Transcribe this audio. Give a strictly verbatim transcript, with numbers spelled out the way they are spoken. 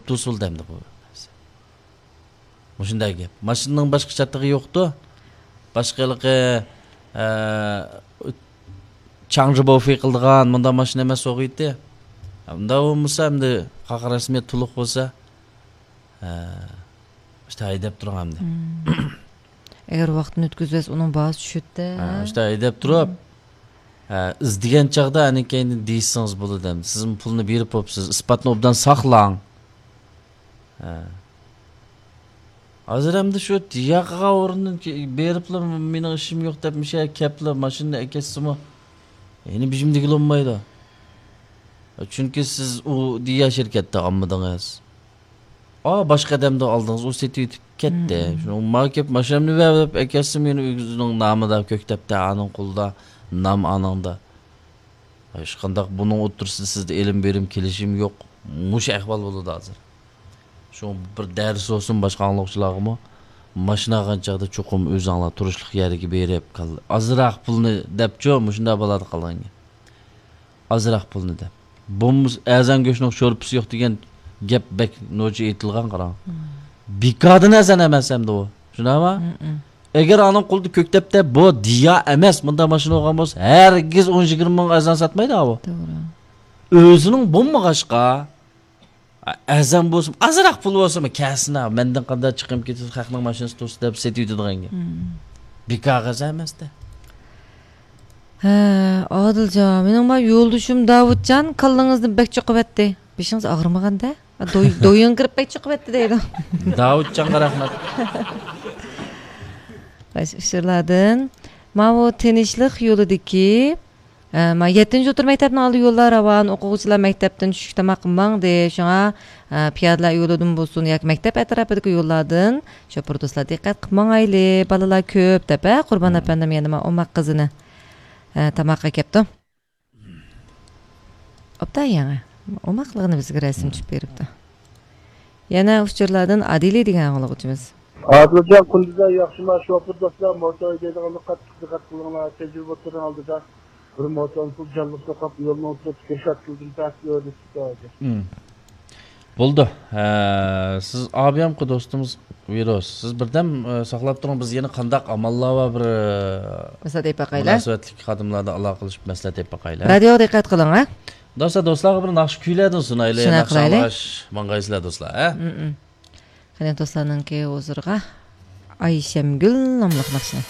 توسۇلدى ئەمدى بۇ. مۇشۇنداق گەپ. ماشىنىنىڭ باشقا چاتىقى يوقتۇ. باشقا ھېلىقى، ئە، چاڭجى بوفې قىلىدىغان مۇنداق ماشىنا ئەمەس بولغىيتى. ئۇنداق بولمىسا ئەمدى قاقا رەسمىيەت تولۇق بولسا، ئە، ئىشتا ھەيدەپ تۇرۇڭ ئەمدى. ئەگەر ۋاقتىنى ئۆتكۈزۈۋەتسە، ئۇنىڭ باھاسى چۈشىدۇ. ھە، ئىشتا ھەيدەپ تۇرۇپ، ھە، ئىزدىگەن چاغدا ئەنە كەينىدىن دېيىشسىڭىز بولىدۇ ئەمدى. سىزمۇ پۇلنى بېرىپ بوپسىز، ئىسپاتنى ئوبدان ساقلاڭ. ھە. ھازىر ئەمدى شۇ ياقىغان ئورۇندىن كې-، بېرىپلا مېنىڭ ئىشىم يوق دەپ مۇشۇ يەرگە كەپلا ماشىنىنى ئەكەتسىمۇ، يەنە بېشىمدىكىلا بولمايدۇ. چۈنكى سىز ئۇ دىيا شىركەتتە ئالمىدىڭىز. ئا، باشقا ئادەمدىن ئالدىڭىز، ئۇ سېتىۋېتىپ كەتتى. شۇنىڭ ماڭا كەپ ماشىنامنى بەر دەپ ئەكەتسىمۇ، يەنە ئۆزىنىڭ نامىدا كۆكتەپتە، ئانىڭ قولىدا، نام ئانىڭدا. ھېچقانداق بۇنىڭ ئوتتۇرىسىدا سىزدە ئېلىم بېرىم كېلىشىم يوق. مۇشۇ ئەھۋال بولىدۇ ھازىر. شۇڭا بىر دەرس بولسۇن باشقا ئاڭلىغۇچىلارغىمۇ، ماشىنا ئالغان چاغدا چوقۇم ئۆزۈڭلار تۇرۇشلۇق يەرگە بېرىپ، كال-، ئازراق پۇلنى دەپچۇ، مۇشۇنداق بولىدۇ قالغان گەپ. ئازراق پۇلنى دەپ. بولمىسا ئەزان گۆشنىڭ شورپىسى يوق دېگەن گەپ بەك نوچى ئېيتىلغان، قاراڭ. بىكاردىن ئەزان ئەمەس ئەمدى ئۇ. شۇنداقمۇ؟ ئەگەر ئانىڭ قولىدا كۆكتەپتە، بۇ دىيا ئەمەس، مۇنداق ماشىنا بولغان بولسا، ھەرگىز ئون يىگىرمە مىڭ ئەزان ساتمايدۇ ئۇ. توغرا. ئۆزىنىڭ بولمىغاچقا، ئەزان بولسىمۇ، ئازراق پۇل بولسىمۇ، كەلسىن، مەندىن قانداق چىقىم كېتىدۇ، خەقنىڭ ماشىنىسى تۇرسا دەپ سېتىۋېتىدىغان گەپ. بىكارغا ئەزان ئەمەستە. ھە، ئادىلجان، مېنىڭ ما يولدىشىم داۋۇتجان كاللىڭىزنى بەك چوقۇۋەتتى. بېشىڭىز ئاغرىمىغاندا؟ دوي-، دويۇڭ كىرىپ بەك چوقۇۋەتتى دەيدۇ. داۋۇتجانغا رەھمەت. باشقا ئۇچۇرلاردىن. ماۋۇ تىنچلىق يولىدىكى، ئە، ما يەتتىنچى ئوتتۇرا مەكتەپنىڭ ئالدى يوللار راۋان، ئوقۇغۇچىلار مەكتەپتىن چۈشلۈك تاماققا ماڭدى. شۇڭا، ئە، پىيادىلەر يولىدىن بولسۇن ياكى مەكتەپ ئەتراپىدىكى يوللاردىن شوپۇر دوستلار دىققەت قىلىپ ماڭايلى. بالىلار كۆپ دەپ، ھە، قۇربان ئەپەندىم يەنە ما ئوماق قىزىنى، ئە، تاماققا ئەكەپتۇ. ئوبدان يېڭى. ئوماقلىقىنى بىزگە رەسىم چۈشۈپ بېرىپتۇ. يەنە ئۇچۇرلاردىن ئادىلى دېگەن ئاڭلىغۇچىمىز. ئادىلجان، قۇندىزاي ياخشىما؟ شوپۇر دوستلار، موتور ھەيدەيدىغانلار قاتتىق دىققەت قىلىڭلار. تەجرىبە ئوتتۇرىنىڭ ئالدىدا بىر موتورنى جانلىق توقاپ، يولنىڭ ئوتتۇرىسىدا كىرىشاتتىلدىن تەس يولدا چىقتى. بولدى. ھە، سىز ئابىيامقۇ دوستىمىز ۋىروس. سىز بىردەم، ئە، ساقلاپ تۇرۇڭ. بىز يەنە قانداق ئاماللار بار بىر، ئە، مەسلىھەت ئېلىپ باقايلى. مۇناسىۋەتلىك خادىملاردا ئالاقىلىشىپ مەسلىھەت ئېلىپ باقايلى. رادىيوغا دىققەت قىلىڭ، ھە؟ دوستلار، دوستلارغا بىر ناخشا كۈيلەردىن سۇنايلى. شۇنداق ناخشا قىلايلى. ئاڭلاش ماڭغايسىلەر، دوستلار، ھە؟ مم. قېنى دوستلارنىڭكى ھۇزۇرىغا ئايشەمگۈل ناملىق ناخشىنى.